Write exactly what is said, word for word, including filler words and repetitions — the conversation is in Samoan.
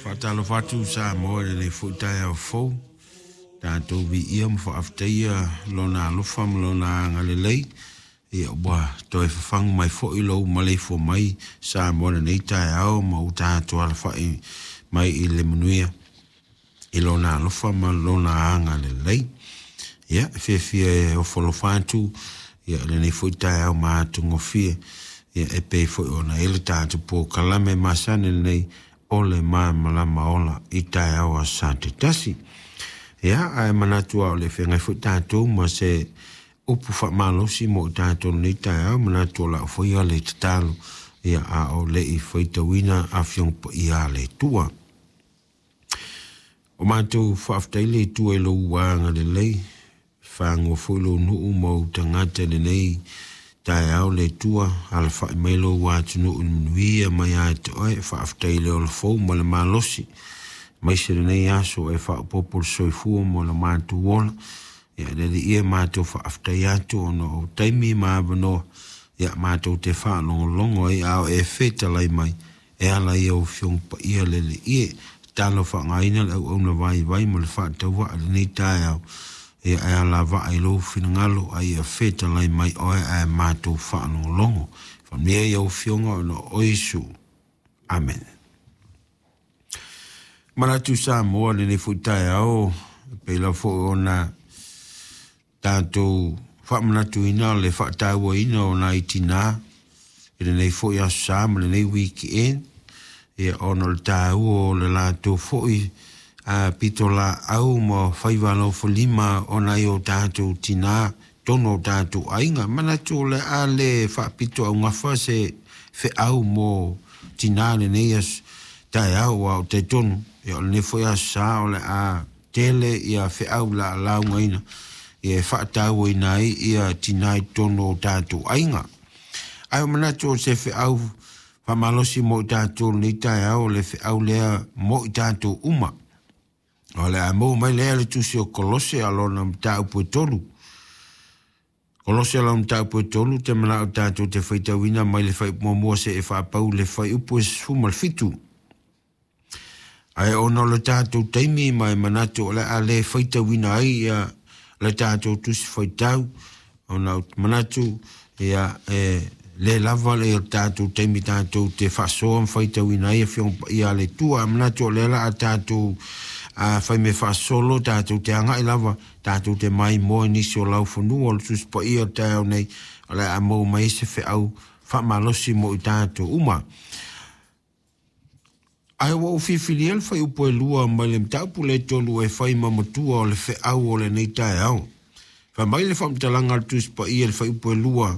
Faatalofa atu Samoa i lenei foi taeao fou, tatou viia ma faafetaia Lona alofa ma Lona agalelei, ia ua toe fafagu mai foi lou maleifua mai Samoa i lenei taeao ma ua tatou alafai mai i le manuia i Lona alofa ma Lona agalelei. Ia, e fiafia e ofo alofa atu ia lenei foi taeao matagofie, ia e pei foi ona i ai le tatou polokalame masani lenei o le Malamalama Ola i taeao o aso Sa taitasi. Ia, ae manatu lava o le feagai foi tatou ma se upu faamalosi mo i tatou lenei taeao, manatu o lau foi le tatalo, ia a o le i faitauina Afioga Paia a le Atua. O matou faafetai le Atua i lou agalelei, fagoa foi lou nuu ma ou tagata i lenei taeao le Atua, alafai mai lou atunuu i le manuia mai ia te oe, faafetai i le ola fou ma le malosi, aemaise lenei aso e faaopoopo le soifua ma le matou ola. Ia le Alii e matou faafetai atu ona o taimi ma avanoa, ia matou te faalogologo ai a o e fetalai mai e ala i au Afioga Paia le Alii e. Tatalo faaaogaina le auauna vaivai ma le faatauvaa i lenei taeao, ia e alavaa i lou finagalo a ia fetalai mai oe ae matou faalogologo. Faamanuia i au Afioga ona o Iesu. Amene. Manatu Samoa lenei foi taeao, pei lava foi ona tatou faamanatuina le faatauaina o nai tinā i lenei foi aso Sa ma lenei weekend, ia ona o le taua o le latou foi a pitolaau ma faiva alofalima o nai o tatou tinā totonu o tatou aiga. Manatu o le a le faapito augafa se feau mo tinā lenei aso taeao, aua ou te talitonu ia o lenei foi aso Sa o le a tele ia feau la laugaina ia e faatauaina ai ia tinā i totonu o tatou aiga. Ae o manatu o se feau faamalosi mo i tatou lenei taeao, o le feau lea mo i tatou uma. O le a maua mai lea le tusi o Kolose a lona mataupu e tolu. Kolose a lona mataupu e tolu, te manao tatou te faitauina mai le fuaiupu muamua seia faapau le fuaiupu e sefulu ma le fitu. Ae ona o le tatou taimi ma e manatu o le a le faitauina ai ia le tatou tusi faitau, ona ou te manatu ia e le lava le tatou taimi tatou te faasoa ma faitauina ai Afioga Paia a le Atua. Manatu o lea la a tatou a fai me faasolo, tatou te agai lava, tatou te maimoa i nisi o laufanua o le Tusi Paia o le taeao nei, o le a maua mai ai se feau faamalosi mo i tatou uma. Ae ua ou filifilia le fuaiupu e lua mai le mataupu le tolu e fai ma matua o le feau o lenei taeao. Fai mai le faamatalaga a le Tusi Paia i le fuaiupu e lua,